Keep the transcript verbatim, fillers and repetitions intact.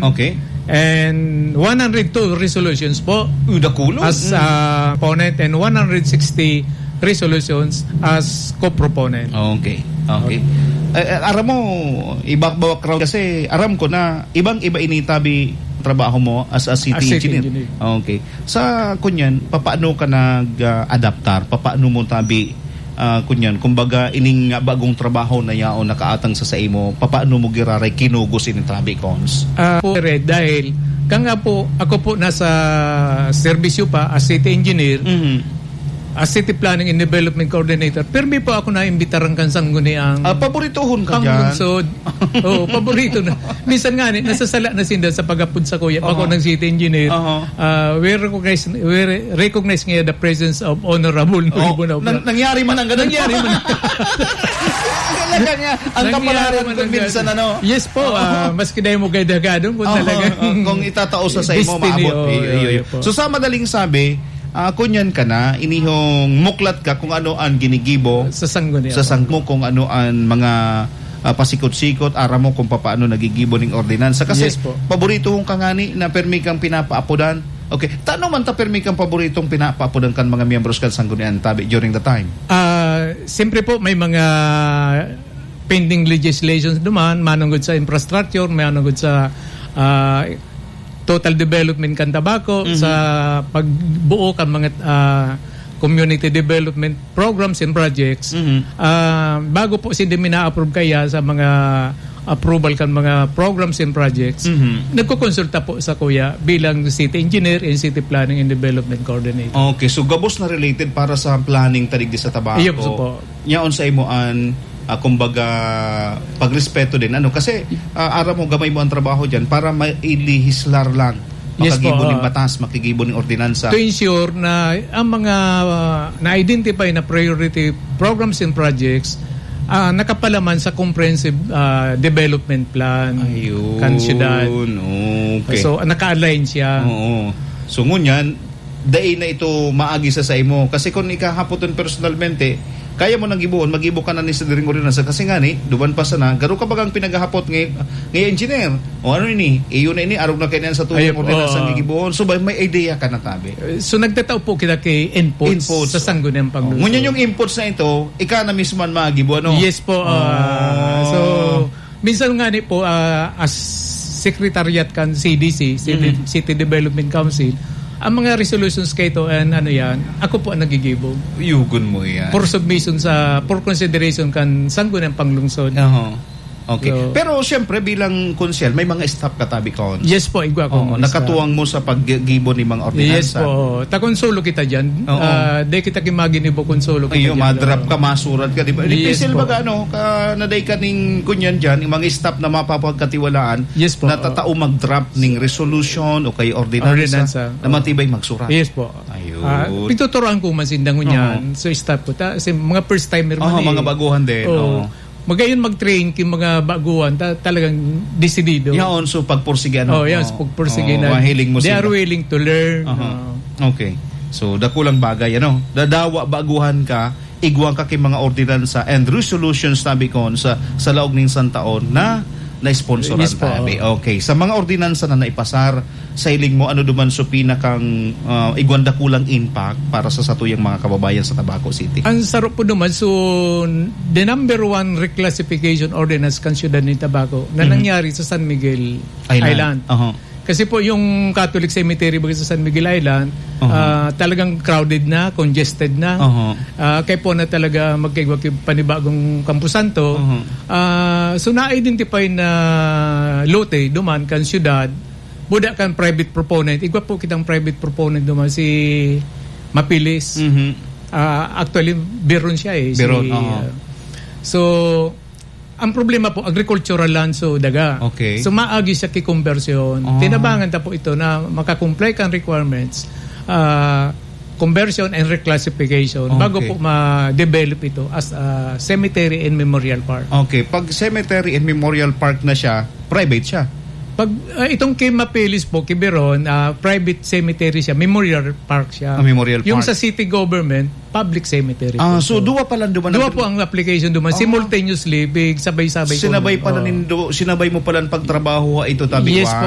Okay. And one hundred two resolutions po. Uh, dakulo. As, Mm. uh, proponent and one hundred sixty resolutions as co-proponent. Okay. Okay. Eh, eh, aram mo, iba background kasi aram ko na ibang-iba ini tabi trabaho mo as a city As city engineer. engineer. Okay. Sa kunyan, papaano ka nag, ah, adaptar? Papaano mo tabi, ah, kunyan, kumbaga, ining bagong trabaho na yaon nakaatang sa saimo, papaano mo giraray kinugos ini tabi, Cons? Ah, po, Red, dahil kang nga po, ako po nasa serbisyo pa as city engineer, Mhm. as city planning and development coordinator, pirmi po ako naimbitaran kan sangguniang Ah, paboritohon ka dyan. panglungsod. Oo, paborito na. Minsan nga, ni, nasasala na sinda sa pag-apod sa kuya. Ako Aha. ng city engineer. Aha. Ah, we recognize, we re-, recognize nga the presence of Honorable Oh, Nuribo na nang-, nangyari man ang ganun? Nangyari man. Talaga nga, ang Nangyari kapalaran man kung ang minsan, ganun. ano? Yes po, Oo. ah, maski dahil mo kay Dagadong, kung Oo, talagang oo, kung itatao sa, sa imo, destiny, maabot. oo, Iyo, iyo, iyo. iyo po. So, sa madaling sabi, ah, kunyan ka na, inihong muklat ka kung ano ang ginigibo Sa sanggunian. sa sang-, mo, kung ano ang mga, ah, pasikot-sikot, aram mo kung papaano nagigibo ning ordinansa. Kasi Yes po. paborito kong kangani na permi kang pinapaapodan. Okay, tano man ta permi kang paboritong pinapaapodan kan mga miyembros kan sanggunian tabi during the time? Ah, siyempre po, may mga pending legislations duman, manunggod sa infrastructure, manunggod sa, ah, total development kan Tabaco, Mhm. sa pagbuo kan mga, ah, community development programs and projects. Mhm. Ah, bago po si Demi na-approve kaya sa mga approval kan mga programs and projects, Mhm. nagkukonsulta po sa kuya bilang city engineer and city planning and development coordinator. Okay, so gabos na related para sa planning ta digdi sa Tabaco. Iyo po. Yaon sa imo an, ah, kumbaga, pagrespeto din, ano? Kasi, ah, aram mo, gamay mo ang trabaho dyan para mailehislar lang. Yes Makagibo po, ning ah. batas, makigibo ning ordinansa. To ensure na ang mga, ah, na-identify na priority programs and projects, ah, nakapalaman sa comprehensive, ah, development plan Ayun, kan syudad. okay. So, naka-align siya. Oo. So, ngunyan, dai na ito maagi sa saimo. Kasi kung ikahapoton personalmente, kaya mo nang gibohon, magibo ka na ni sa diring ordinansa. Kasi nga ni, duman pa sana, garo ka bagang pinaghahapot ngay-, ngay engineer. O ano ini? Iyo na ini, arog na kainan sa tuyang Ayun po, ordinansa ah. nga gibohon. So, ba, may idea ka na tabi. So, nagtatao po kita kay inputs Inputs. sa sangguniang Oh, panglunsod. ngunyan yung inputs na ito, ika na mismo ang magibo, ano? Yes po, ah, Oh. so, Minsan nga ni po, ah, as secretariat kan C D C, City, Mhm. City Development Council, ang mga resolutions kaito and ano yan, ako po ang nagigibo. Yugon mo yan. For submission sa, for consideration kan sangguniang panglungsod. Aha. Okay. So, Pero siyempre bilang konsehal, may mga staff ka tabi, Cons. Yes po, igwa ko Oo, mga nakatuwang staff. mo sa paggibo ni mga ordinansa. Yes po. Ta konsolo kita dyan. Oo. Ah, di kita kimaginibo konsolo kita Iyo, dyan. madrap ka, masurat ka, di ba? Yes Difícil po. baga, ano, ka, na day ka ning kunyan dyan, yung mga staff na mapapagkatiwalaan, Yes po. na tatao mag-draft ning resolution o kay ordinansa, Ordinansa. na matibay magsurat. Yes po. Ayun. Ah, pituturoan ko man sinda ngunyan. Oo. So, staff ko. Ta, si mga first timer man Oo, eh. mga baguhan din, Oo. oo. Magayon mag-train king mga baguhan, ta, talagang desidido. Yaon, so pagpursige, ano? Oh, yes, Oo. pagpursige Oo, na. mahiling mo They sila. are willing to learn. Aha. Oo. Okay. So, dakulang bagay, ano? Dadawa, baguhan ka, igwa ka king mga ordinansa and resolutions, tabi kon, sa, sa laog ning isang taon na na-sponsoran, Yes po. tabi. Okay. Sa mga ordinansa na naipasar, sa hiling mo, ano duman so pinakang, ah, igwang dakulang impact para sa satuyang mga kababayan sa Tabaco City? Ang saro po duman, so, the number one reclassification ordinance kan siyudad nin Tabaco na Mhm. nangyari sa San Miguel Island. Island. Aha. Kasi po yung Catholic Cemetery baga sa San Miguel Island, Aha. ah, talagang crowded na, congested na. Aha. Ah, kaya po na talaga magkaigwa ki-, panibagong kampusanto. Aha. Ah, so na-identify na lote duman kan siyudad, buda kan private proponent. Igwa po kitang private proponent duman, si Mapilis. Mhm. Ah, actually, Biron siya eh. Si, Biron, oo. ah, so, ang problema po, agricultural land, so daga. Okay. So, maagi siya ki conversion. Ah. Tinabangan ta po ito na makakomply kan requirements, ah, conversion and reclassification bago Okay. po ma-develop ito as a cemetery and memorial park. Okay. Pag cemetery and memorial park na siya, private siya? Pag, ah, itong kay Mapilis po, kay Biron, ah, private cemetery siya, memorial park siya. Ah, memorial Yung park. sa city government, public cemetery Ah, po. so So, duwa pala duman duwa ang po ang application duman. Ah. Simultaneously, big sabay-sabay ko Sinabay naman. pala Oo. nindo, sinabay mo pala ang pagtrabaho, ito, tabi Yes ko, ah. po.